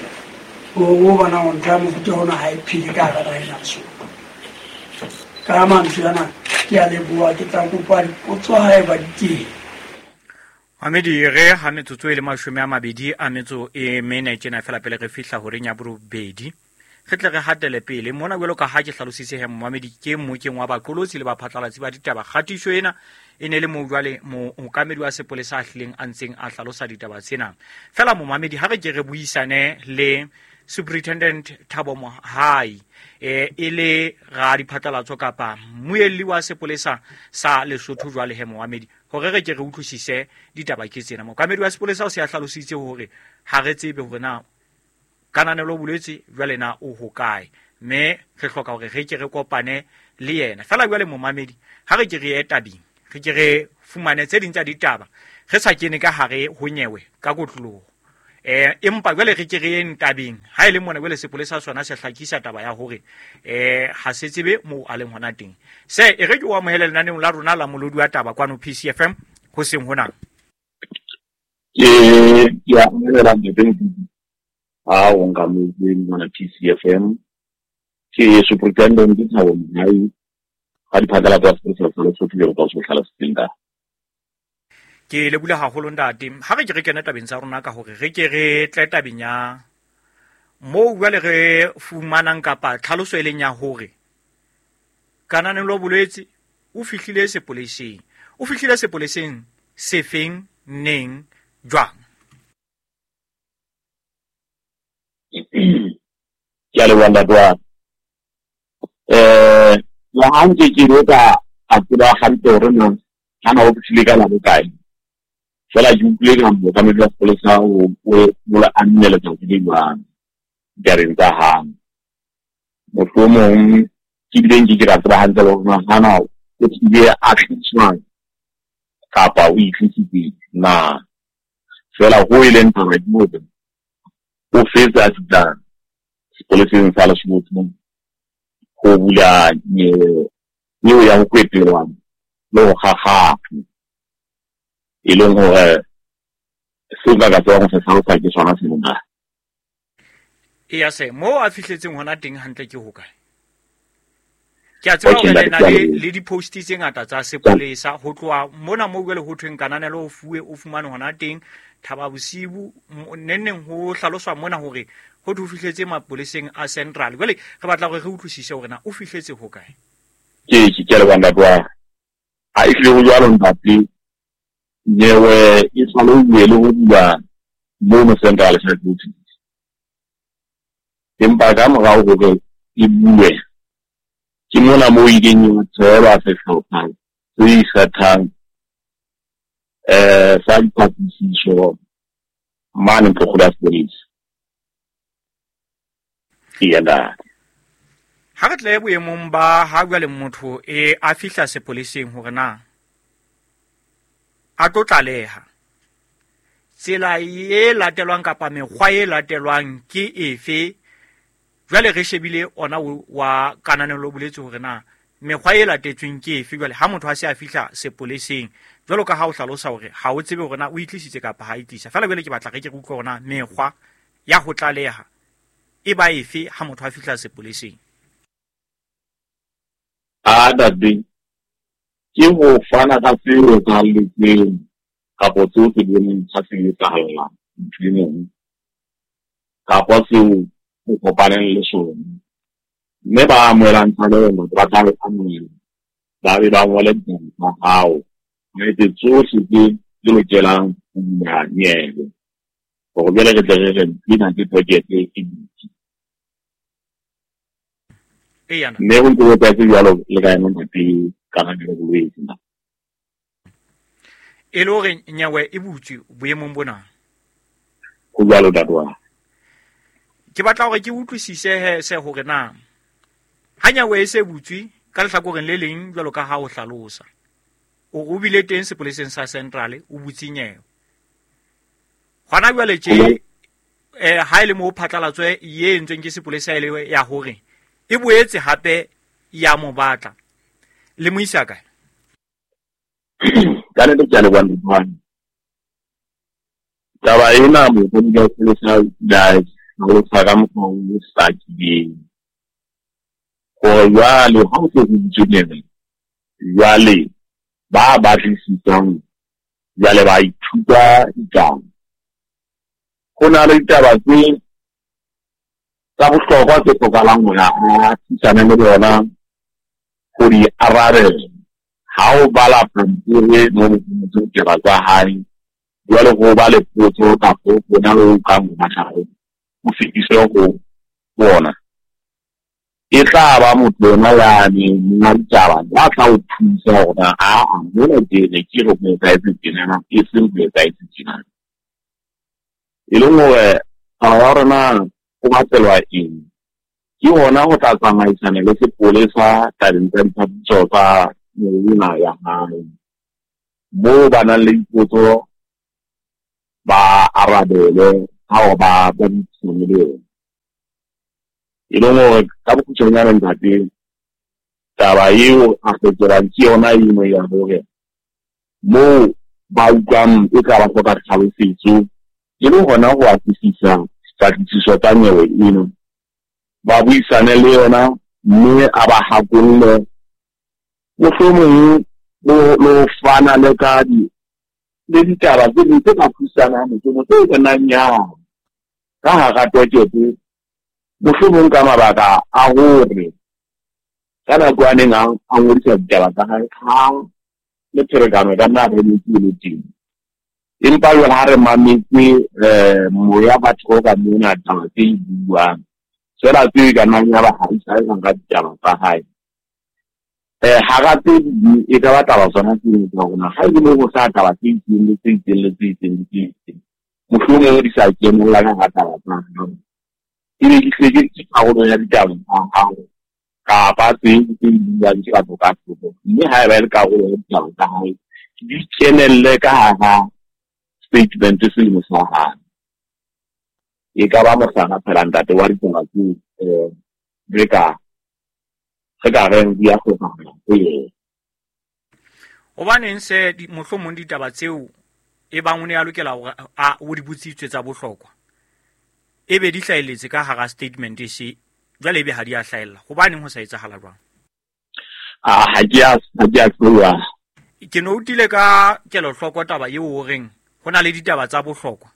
S12: hore o bona hore ntho ya mofuta ona ha e phele ka hara naha ena Lesotho. Ka mantswe ana ke a leboha ke tla kopa dipotso haeba di teng.
S9: Mamedi re ha metsotso e le 24 tjena fela pele re fihla horeng ya borobedi re tle re hatele pele mona jwalo ka ha ke hlalositse he momamedi ke mmokeng wa baqolotsi le baphatlalatsi ba ditaba. Kgatiso ena e ne le moo jwale mookamedi wa sepolesa a hlileng a ntseng a hlalosa ditaba tsena. Fela momamedi ha re ke re buisane le Superintendent Thabo Mohai e le ra diphatlalatso kapa mmuelli wa sepolesa sa Lesotho jwale he momamedi hore re ke re utlwisise ditaba ke tsena. Mookamedi wa sepolesa o se a hlalositse hore ha re tsebe hore na kananelo bolwetse jwale na o hokae mme re hloka hore re ke re kopane le yena. Fela jwale momamedi ha re ke re ye tabeng re ke re fumane tse ding tsa ditaba re sa kene ka hare ho nyewe ka kotloloho. Empa jwale re ke re yeng tabeng ha e le mona jwale sepolesa sona se hlakisa taba ya hore ha se tsebe moo a leng hona teng. Se e re ke o amohele lenaneong la rona la molodi wa taba kwano PCFM ho seng hona.
S13: Ke a amohela ntate ha o nkametse mona PCFM. Ke Superintendent Thabo Mohai ga diphatlalatso tsa sepolesa sa Lesotho jwalo ka o se o hlalositseng ka.
S9: Ke lebohile haholo ntate. Ha re ke re kene tabeng tsa rona ka hore re ke re tle tabeng ya moo jwale re fumanang kapa tlhaloso e leng ya hore Kananelo Bolwetse o fihlile sepoleseng. O fihlile sepoleseng sefeng, neng, jwang?
S13: Ke a leboha ntate wa ka. Le ha nke ke be ka a tseba hantle hore na hana o fihlile ka la bokae. Feela ke utlwile ka mookamedi wa sepolesa o o a nne letsatsi le jwang ditabeng tsa hae. Mohlomong ke bile nke ke ka tseba hantle hore na hana o tlile a tliswa kapa o itlisitse na. Feela ho e leng taba ke hore o fetse a fihla sepoleseng sa Lesotho ho bula nyewe eo ya ho kwetelwa le ho kgakgatha, e leng hore seo nka ka tsebang ho se hlalosa ke sona seo na.
S9: Eya se moo a fihletseng hona teng hantle ke hokae? Ke a tseba hore le na le di-post tse ngata tsa sepolesa ho tloha mona moo jwale ho thweng Kananelo o fuwe o fumane hona teng Thaba Bosibu neng neng ho hlaloswa mona hore ho thwe o fihletse mapoleseng a Central. Jwale re batla hore re utlwisise hore na o fihletse hokae.
S13: Ke ke ke a leboha ntate wa ka. Ha ehlile ho jwalo ntate, nyewe e tlalehilwe le ho bulwa mono Central Head Office. Empa ka morao hore e bulwe, ke mona moo ileng ya theolwa sehlopha se ikgethang sa dipatlisiso mane Ntlokgolo ya Sepolesa. Eya ntate.
S9: Ha re tle boemong ba ha jwale motho e a fihla sepoleseng hore na a tlo tlaleha, tsela e latelwang kapa mekgwa e latelwang ke efe? Jwale re shebile ona wa Kananelo o boletse hore na mekgwa e latetsweng ke efe jwale ha motho a se a fihla sepoleseng, jwalo ka ha o hlalosa hore ha o tsebe hore na o itlisitse kapa ha itlisa. Feela jwale ke batla re ke re utlwe hore na mekgwa ya ho tlaleha e ba efe ha motho a fihla sepoleseng.
S13: A ntate, ke ho fana ka se etsahalletseng kapa seo se boneng ha se etsahalla motho e mong kapa seo o kopaneng le sona. Mme ba amohelang tlaleho ba tla e amohela, ba be ba ngole ditaba tsa hao, ba etse tsohle tse di lokelang ho bula nyewe hore jwale re tle re re ena ke projeke e butswe. Mme ho ntse ho etsahetse jwalo le ka yona ntate Kananelo Bolwetse na.
S9: E le hore nyewe e butswe boemong bona.
S13: Ho jwalo ntate wa.
S9: Ke batla hore ke utlwisise he se hore na ha nyewe e se butswe ka lehlakoreng le leng jwalo ka ha o hlalosa. O bile teng sepoleseng sa Central o butse nyewe. Hona jwale tje ha e le moo phatlalatso e entsweng ke sepolesa e le ya hore e boetse hape ya mo batla. Le mo isa kae?
S13: Ka nnete ke a leboha ntate wa ka. Taba ena mookamedi wa sepolesa o ile a hlalosa ka mokgwa o hlakileng hore jwale ha o se ho butswe nyewe, jwale ba batlisisang jwale ba ithuta ditaba. Ho na le ditaba tse tsa bohlokwa tse hlokahalang hore a thusane le bona ho di arabela. Ha o bala pampiri mo ho ditaba tsa hae, jwale ho ba le potso kapa hona ho kang ho batla ho o fetise ho bona. E tla ba motho yena ya neng monga ditaba ya tla o thusa hore na aa mona ke ne ke re ho etsahetse tjenana, e seng ho etsahetse tjenana. E leng hore taba ya hore na o batelwa eng, ke hona ho tla tsamaisana le sepolesa tabeng tsa dipatlisiso tsa nyewe ya hae. Moo ba nang le dipotso ba arabele ha hore ba buisane le yena. E leng hore ka bokgutshwanyane ntate, taba eo a hlokelang ke yona eno ya hore moo ba utlwang e tla ba hloka tlhalosetso e le hona ho atlisisa dipatlisiso tsa nyewe eno, ba buisane le yona Mme a ba hakolle mohlomong lo fana le ka di le ditaba tse ding tse ka thusang ha mohlomong tse ka nnang ya ka hara tokete mohlomong ka mabaka a hore ka nako a neng a ngodisa ditaba tsa hae ha le pherekano ka nna re metsi le teng. Empa jwale ha re mametse moya batho ka mona taba tse buang fela tse ka nnang ya ba ha e sa ka ditaba tsa hae. Hara tse ding e ka ba taba tsona tse tsa rona ha e le ho sa taba tse itseng le tse itseng le tse itseng le tse itseng mohlomong di sa kenella ka hara taba tsa hao, ebe ke hle ke karolo ya ditaba tsa hao kapa tse tse buang ke batho ka thoko, mme ha eba e le karolo ya ditaba tsa hae di kenelle ka hara statement selemo sa hae. E ka ba mohlala phela ntate wa ditaba tse re ka reng di a hlokahala ho yena.
S9: Hobaneng se mohlomong ditaba tseo e bang o ne a lokela hore a o di botsitswe tsa bohlokwa e be di hlahelletse ka hara statement se jwale ebe ha di a hlahella, hobaneng ho sa etsahala jwang?
S13: Ha ke a tloha.
S9: Ke no utile ka kelohloko taba eo o reng ho na le ditaba tsa bohlokwa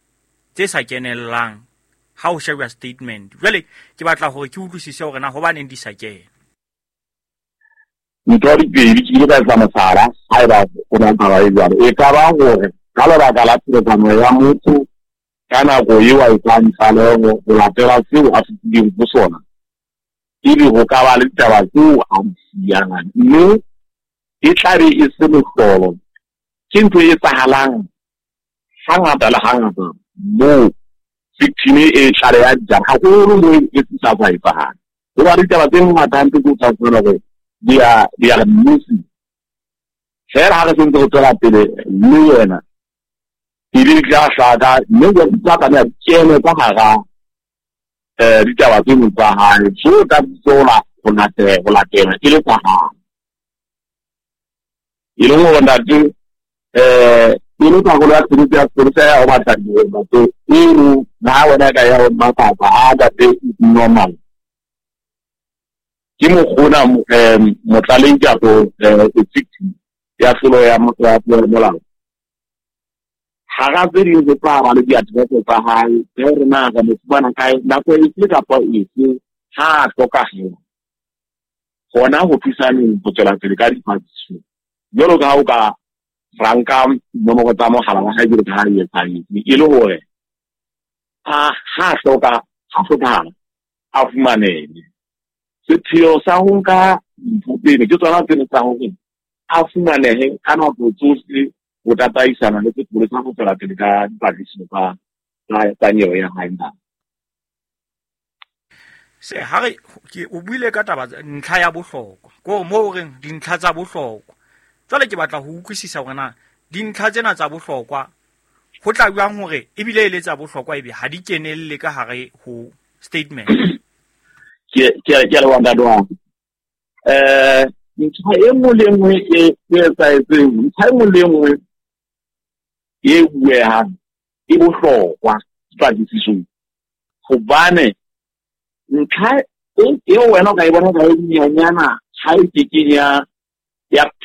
S9: tse sa kenellang ha o sheba statement. Jwale ke batla hore ke utlwisise hore na hobaneng di sa kena.
S13: Ntho di pedi ke ile ka etsa mohlala haeba o na taba e jwalo. E ka ba hore ka lebaka la pherekano ya motho ka nako eo a etsang tlaleho ho latela seo a fetileng ho sona, ebe ho ka ba le ditaba tseo a di siyang, mme e tlabe e se mohlolo. Ke ntho e etsahalang hangata le hangata moo victim e tlaleha ditaba haholo moo e sa tswa etsahala. Ho ba ditaba tse ngata hampe tse o tla fumana hore di a re mmusi fela ha re sentse re tswela pele mme yena ebe di tla hlaka mme di tla tlameha di kene ka hara ditaba tseno tsa hae so ka bitsola ho latela e le tsa hae. E leng hore ntate e le karolo ya tshebetso ya sepolesa ya ho batla ntate eo na wena ka ya ho mafapha a ntate normal. Ke mokgona motlaleng kapo victim ya tlolo ya molao. Hara tse ding ho tla ba le diaterese tsa hae tse re na re mo fumana kae nako efe kapa efe ha a hlokahala hona ho thusaneng ho tswela pele ka dipatlisiso. Jwalo ka ha o ka ranka nomoro tsa mohala wa hae jwalo ka ha e etsahetse, e le hore ha hlokahala a fumanehe. Sepheo sa ho nka dintho tsena ke tsona tsena tsa hore a fumanehe ka nako tsohle ho tataisana le sepolesa ho tswela pele ka dipatlisiso tsa nyewe ya hae.
S9: Se ha re ke o buile ka taba ntlha ya bohlokwa ko mo reng dintlha tsa bohlokwa. Jwale ke batla ho utlwisisa hore na dintlha tsena tsa bohlokwa ho tla jwang hore ebile e le tsa bohlokwa ebe ha di kenelle ka hare ho statement.
S13: Ke le wa ntate wa ntlha e nngwe le nngwe e etsahetseng, ntlha e nngwe le nngwe e buehang e bohlokwa dipatlisisong, hobane ntlha eo wena o ka e bona ka e nyenyana ha e kekeng ya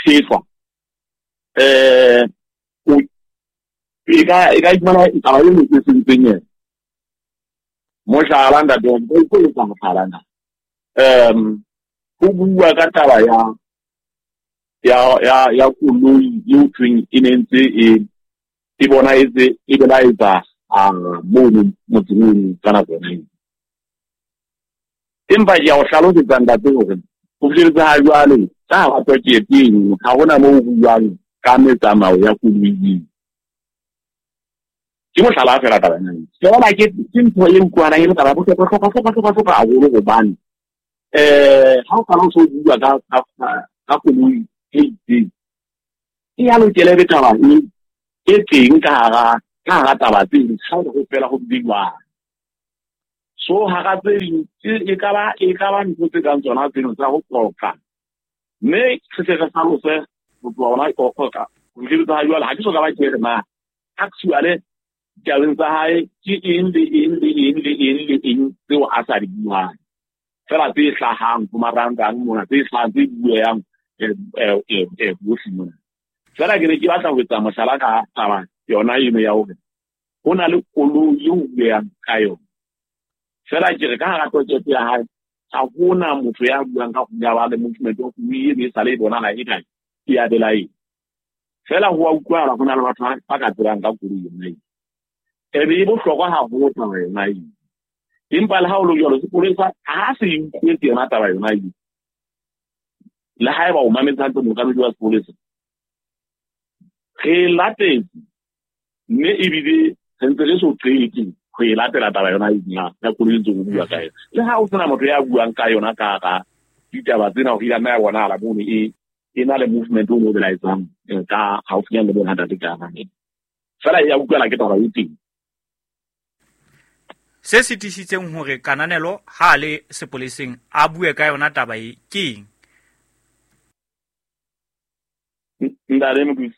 S13: phethwa e ka iphumana taba e nngwe e sentseng yena. Mohlala ntate wa ka e etsa mohlala na ho bua ka taba ya koloi eo thweng e ne ntse e bona e belaetsa mono motseng ono ka nako yona eo. Empa ke a o hlalosetsa ntate hore ho fihletse ha jwale ka hara tokete eno ha hona moo ho buang ka metsamao ya koloi eo. Ke mohlala fela taba ena. Fela ke ntho e utlwahalang e le taba ya bohlokwa haholo hobane ha o qala o so bua ka koloi e itseng e ya lokela ebe taba e teng ka hara taba tse ding ha ho fela ho bile. So hara tse ding e ka ba ntho tse kang tsona tseno tsa ho qoqa, mme re tle re hlalose ho tloha hona qoqa ho fihletse ha jwale ha ke so ka ba ke re na actually ditabeng tsa hae ke eng le eng le eng le eng le eng tseo a sa di buang. Fela tse hlahang ho marangrang mona, tse hlahang tse bueang bohle mona. Fela ke ne ke batla ho etsa mohlala ka taba yona eno ya hore ho na le koloi eo bueang ka yona. Fela ke re ka hara tokete ya hae ha hona motho ya buang ka ho ya ba le movement wa koloi eno e sale e bonahala e kae e ya belaeng. Fela ho a utlwahala ho na le batho ba ka tsebang ka koloi yona eo. Ebe e bohlokwa haholo taba yona eo. Empa le ha o le jwalo sepolesa ha se e utlwetse yona taba yona eo. Le haeba o mametse hantle mookamedi wa sepolesa, re latetse mme ebile re ntse re so qete ho e latela taba yona eo ya koloi ntse o bua ka yona. Le ha o sena motho ya buang ka yona ka hara ditaba tsena hore e nna ya bonahala mono e na le movement o mo belaetsang ka haufinyane le bona ntate ka hara. Fela e ya utlwela ke taba e teng.
S9: Se sitisitseng hore Kananelo ha le sepoleseng a bue ka yona taba e ke eng?
S13: Ntate Modusi.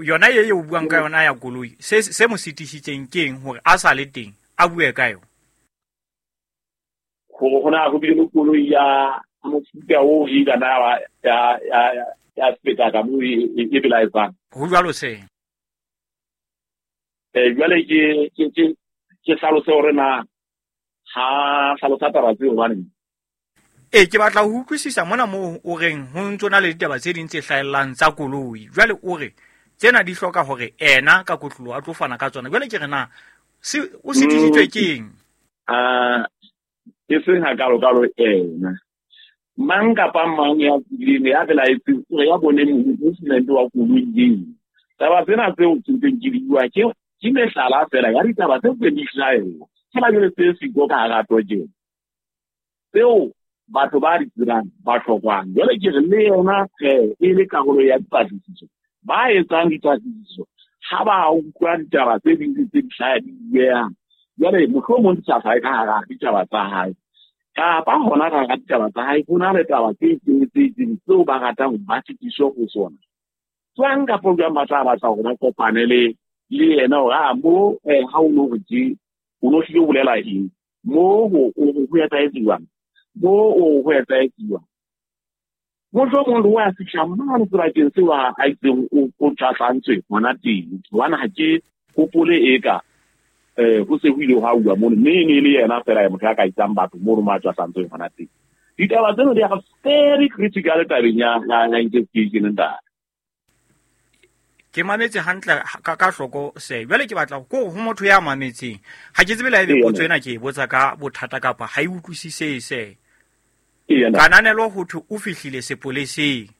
S9: Yona e o buang ka yona ya koloi, se mo sitisitseng ke eng hore a sa le teng a bue ka yona?
S13: Hore hona ho bile le koloi ya mofuta o e ka na ya feta ka mo e belaetsang.
S9: Ho jwalo se.
S13: Jwale ke hlalose hore na ha hlalosa taba tseo hobane.
S9: Ke batla ho utlwisisa mona moo o reng ho ntso na le ditaba tse ding tse hlahellang tsa koloi. Jwale o re tsena di hloka hore ena ka kotlolo a tlo fana ka tsona. Jwale ke re na o sitisitswe ke eng?
S13: E seng hakalo-kalo ena. Mang kapa mang ya tsileng ya belaetseng hore ya bone movement wa koloi eo. Taba tsena tseo ke ntseng ke di bua ke mehlala fela ya ditaba tse ntseng di hlahella. Fela jwale tse siko ka hara tojeng. Tseo batho ba di tsebang ba hlokwang. Jwale ke re le yona e le karolo ya dipatlisiso. Ba etsang dipatlisiso ha ba utlwa ditaba tse ding tse di hlaya di bueang. Jwale mohlomong di sa hlahe ka hara ditaba tsa hae. Kapa hona ka hara ditaba tsa hae ho na le taba tse itseng tse itseng tseo ba ratang ho ba fetiswe ho tsona. Jwang kapa jwang ba tla batla hore ba kopane le yena hore a mo ha o no re tje o no hlile o bolela eng mo ho etsahetse jwang mo o ho etsahetse jwang. Mohlomong le wa fihla mane sebakeng seo a itseng o tjhahlantswe hona teng. Hobane ha ke hopole eka ho se ho ile hwa uwa mono mme e ne le yena fela ya motho ya ka isang batho mono mo a tjhahlantsweng hona teng. Ditaba tseno di are very critical tabeng ya investigation ntate.
S9: Ke mametse hantle ka hloko se. Jwale ke batla ko ho motho ya mametseng. Ha ke tsebe le haebe potso ena ke e botsa ka bothata kapa ha e utlwisise se. Kananelo ho thwe o fihlile sepoleseng.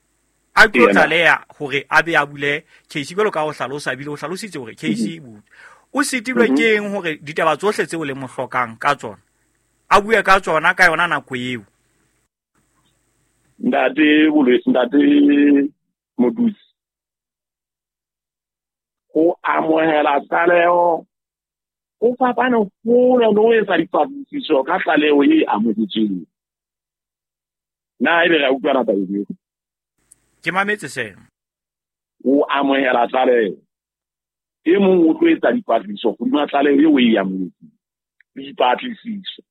S9: A tlo tlaleha hore a be a bule case jwalo ka ho hlalosa bile o hlalositse hore case e butswe. O sitilwe ke eng hore ditaba tsohle tseo le mo hlokang ka tsona a bue ka tsona ka yona nako eo?
S13: Ntate Ntate Modusi. Ho amohela tlaleho ho fapane hole le ho etsa dipatlisiso ka tlaleho e amohetsweng. Na ebe re a utlwana taba eo?
S9: Ke mametse sena.
S13: O amohela tlaleho. E mong o tlo etsa dipatlisiso hodima tlaleho eo e amohetseng. Dipatlisiso.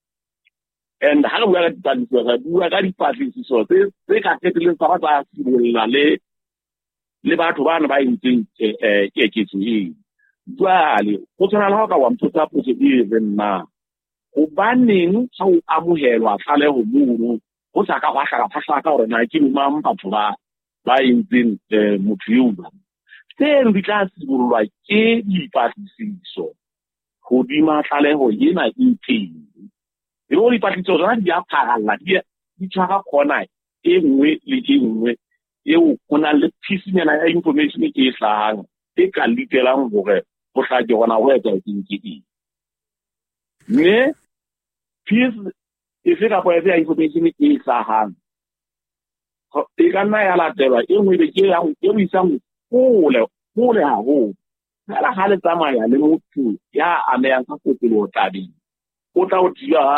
S13: And ha re bua ka dipatlisiso, re bua ka dipatlisiso tse ka qetelleng tsa ba tsa sibolla le batho bana ba entseng keketso eo. Jwale ho tshwana le ha o ka wa mpotsa potso e reng na hobaneng ha o amohelwa tlaleho mono ho sa ka hwa hlaka hore na ke mang batho ba entseng motho eo jwang. Tseno di tla sibollwa ke dipatlisiso hodima tlaleho ena e teng. Le hore dipatlisiso tsona di a pharalla, di tshwara corner e nngwe le e nngwe eo ho nang le pisinyana ya information e hlahang e ka litelang hore ho hlake hona ho etsahetseng ke eng. Mme piece efe kapa efe ya information e hlahang e ka nna ya latelwa e nngwe be ke ya e o isang hole haholo. Fela ha le tsamaya le motho ya amehang ka kotloloho tabeng, o tla o thiba